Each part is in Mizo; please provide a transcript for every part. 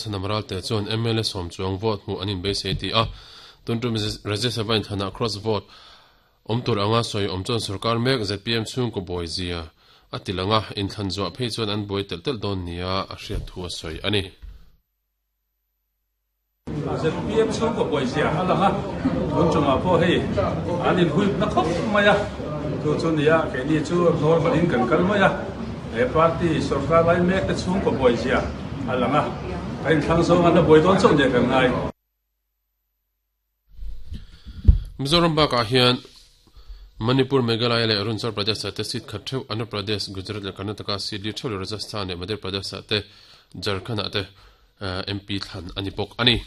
Chhanam Ralte chuan mla sawm chuang vote hmuh an inbeisei ti a, tun tum Rajya Sabha inthlanah cross vote awm tur anga sawi awm chuan sorkar mek zpm chhungkaw buai zia a ti lang a, inthlan zuah phei chuan an buai telh telh dawn nia a hriat thu a sawi a ni. Zpm chhungkaw buai zia a lang a, tun chungah pawh hei an inhuipna khawp mai a, chu chu nia keini chu normal in kan kal mai a, he party sorkar lai mek te chhungkaw buai zia a lang a, kan inthlang zawng an la buai dawn chauh nia kan ngai. Mizoram bakah hian Manipur, Meghalaya leh Arunachal Pradesh ah te seat khat theuh, Andhra Pradesh, Gujarat leh Karnataka seat li theuh leh Rajasthan leh Madhya Pradesh ah te Jharkhand ah te MP thlan a ni bawk a ni.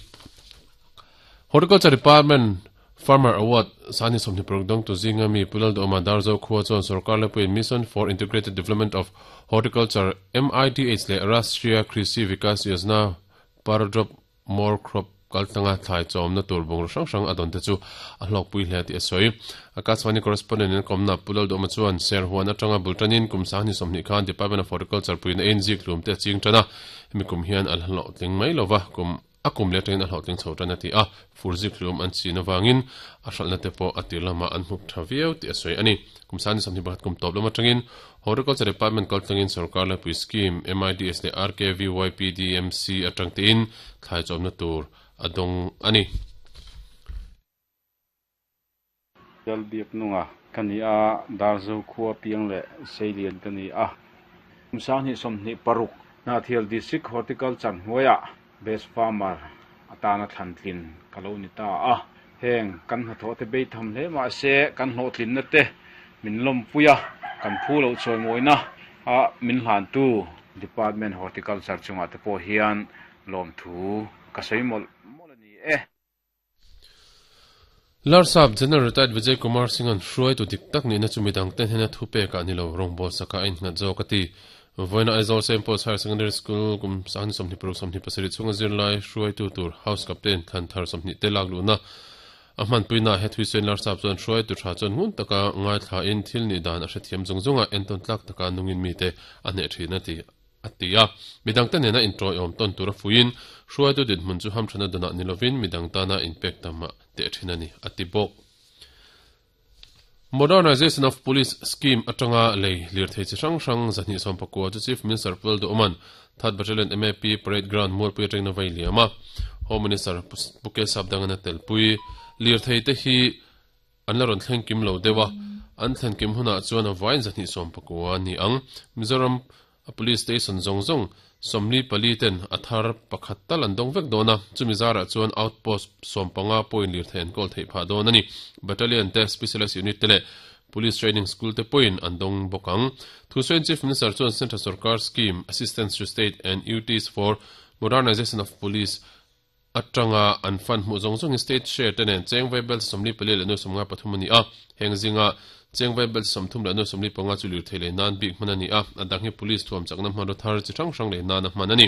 Horticulture Department Farmer Award Sani 26 dawngtu zinga mi Pu Lalduhawma Darzo khua chuan sorkar lepuiin Mission for Integrated Development of Horticulture, MIDH, leh Rashtriya Krishi Vikas Yojana Per Drop More Crop kaltlanga thlai chawmna tur bungraw hrang hrang a dawn te chu a hlawkpui hle tih a sawi. Akashvani correspondent in kawmna Pu Lalduhawma chuan Serhuan atanga bul tanin kum 2020 khan Department of Horticulture puihna in zikhlum te a ching tan a, hemi kum hian a hlawhtling mai lova kum a kum leh atangin a hlawhtling chho tan a ti a, fur zikhlum an chin avangin a hralhna te pawh a tir lamah an hmup tha viau tih a sawi a ni. Kum 2021 kum tawp lam atangin Horticulture Department kaltlangin sorkar laipui scheme, MIDS leh RKVYPDMC atang tein thlai chawmna tur a dawng a ni. Lalbiaknunga ka ni a, Darzo khua piang leh Seilian ka ni a. Kum 2026 Hnahthial District Horticulture hnuaiah Best Farmer atana thlantlin ka lo ni ta a. Heng kan hnathawh te bei tham hle mah se kan hlawhtlinna te min lawmpui a, kan phu loh chawimawina a min hlantu Department Horticulture chungah te pawh hian lawmthu ka sawi mawlh mawlh a ni e. Larsap General Retired Vijay Kumar Singh-a'n hruaitu dik tak nihna chu midang ten hian a thupekah ni lo, rawngbawl sakah a innghat zawk a ti. Vawiina Aizawl Saint Paul's Higher Secondary School kum 26 27 chhunga zirlai hruaitu tur House Captain thlan thar 20 te lak luhna a hmanpuinaah he thuisawiin Larsap chuan hruaitu tha chuan ngun taka ngaithlain thil nih dan a hrethiam zung zung a, entawn tlak taka nungin mite a hneh thin a ti. a ti a. Midangte nena inṭawiawm tawn tura fuiin, hruaitu dinhmun chu hamṭhana danah ni lovin midang tana inpek tam a teh ṭhin a ni, a ti bawk. Modernization of Police Scheme aṭanga lei lirthei chi hrang hrang 219 chu Chief Minister Pu Lalduhawma'n Third Battalion MAP Parade Ground Mualpui aṭangin a vei liam a. Home Minister Pu Kesap Dangana telpui lirthei te hi An la rawn thleng kim lo deuh a, an thlen kim hunah chuan a vain 219 a ni ang. Mizoram a Police Station zawng zawng 44 ten a thar pakhat tal an dawng vek dawn a, chumi zarah chuan Outpost 15 pawhin lirthei an kawl theih phah dawn a ni. Battalion te, Specialised Unit te leh Police Training School te pawhin an dawng bawk ang. Thusawiin Chief Minister chuan Central Sorkar Scheme, Assistance to State and UTs for Modernization of Police, Atanga an fund hmuh zawng zawngin state share te nen cheng vai bel 44.53 a ni a, heng zinga cheng vai bel 35.45 chu lirthei lei nan bik hman a ni a, a dang hi police thuam chakna hmanraw thar chi hrang hrang lei nan a hman a ni.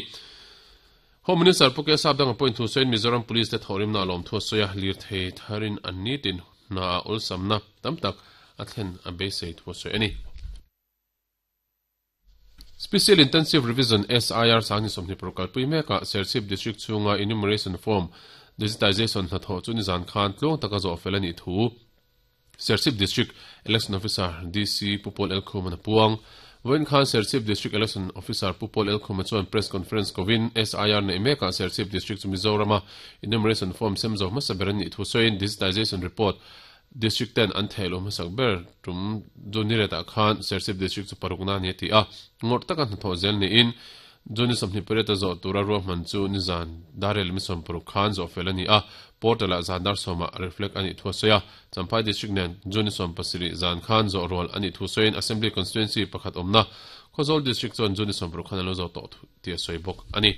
Home Minister Pu Kesap danga pawhin thu sawiin Mizoram Police te thawhrimna a lawmthu a sawi a, lirthei tharin an nitin hna ah awlsamna tam tak a thlen a beisei thu a sawi a ni. Special Intensive Revision, SIR, 2026 kalpui mekah Serchhip District chhunga Enumeration Form Digitization hnathawh chu nizan khan tluang taka zawh fel a nih thu Serchhip District Election Officer, DC, Pu Paul Elkhum-a'n a puang. Vawiin khan Serchhip District Election Officer Pu Paul Elkhum-a chuan Press Conference kovin SIR neih mekah Serchhip District chu Mizorama Enumeration Form sem zo hmasa ber a nih thu sawiin Digitization Report District ten an theih loh hmasak ber tum Juniret-ah khan Serchhip District chu parukna a ni a ti a, ngawrh taka hnathawh zel niin June 28 a zawh tura ruahman chu nizan dar leh 16 khan zawh fel a ni a, portal-ah zan dar sawmah reflect a nih thu a sawi a. Champhai District nen June 17 zan khan zawh rual a nih thu sawiin Assembly Constituency pakhat awmna Khawzawl District chuan June 16 khan a lo zawh tawh tih a sawi bawk a ni.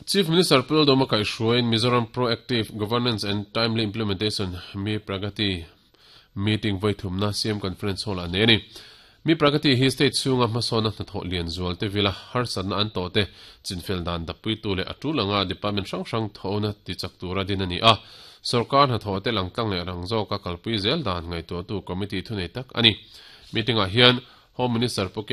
Chief Minister Pu Lalduhoma kaihhruaiin Mizoram Proactive Governance and Timely Implementation Mi Pragati meeting vawi thumna CM Conference Hall-ah nei a ni. Mi Pragati hi state chhunga hmasawnna hnathawh lian zual te vila harsatna an tawh te chinfel dan dappuitu leh a tul anga department hrang hrang thawhna tichak tura din a ni a. Sorkar hnathawh te langtlang leh rang zawka kalpui zel dan ngaihtuahtu committee thunei tak a ni. Meeting-ah hian Home Minister Pu K.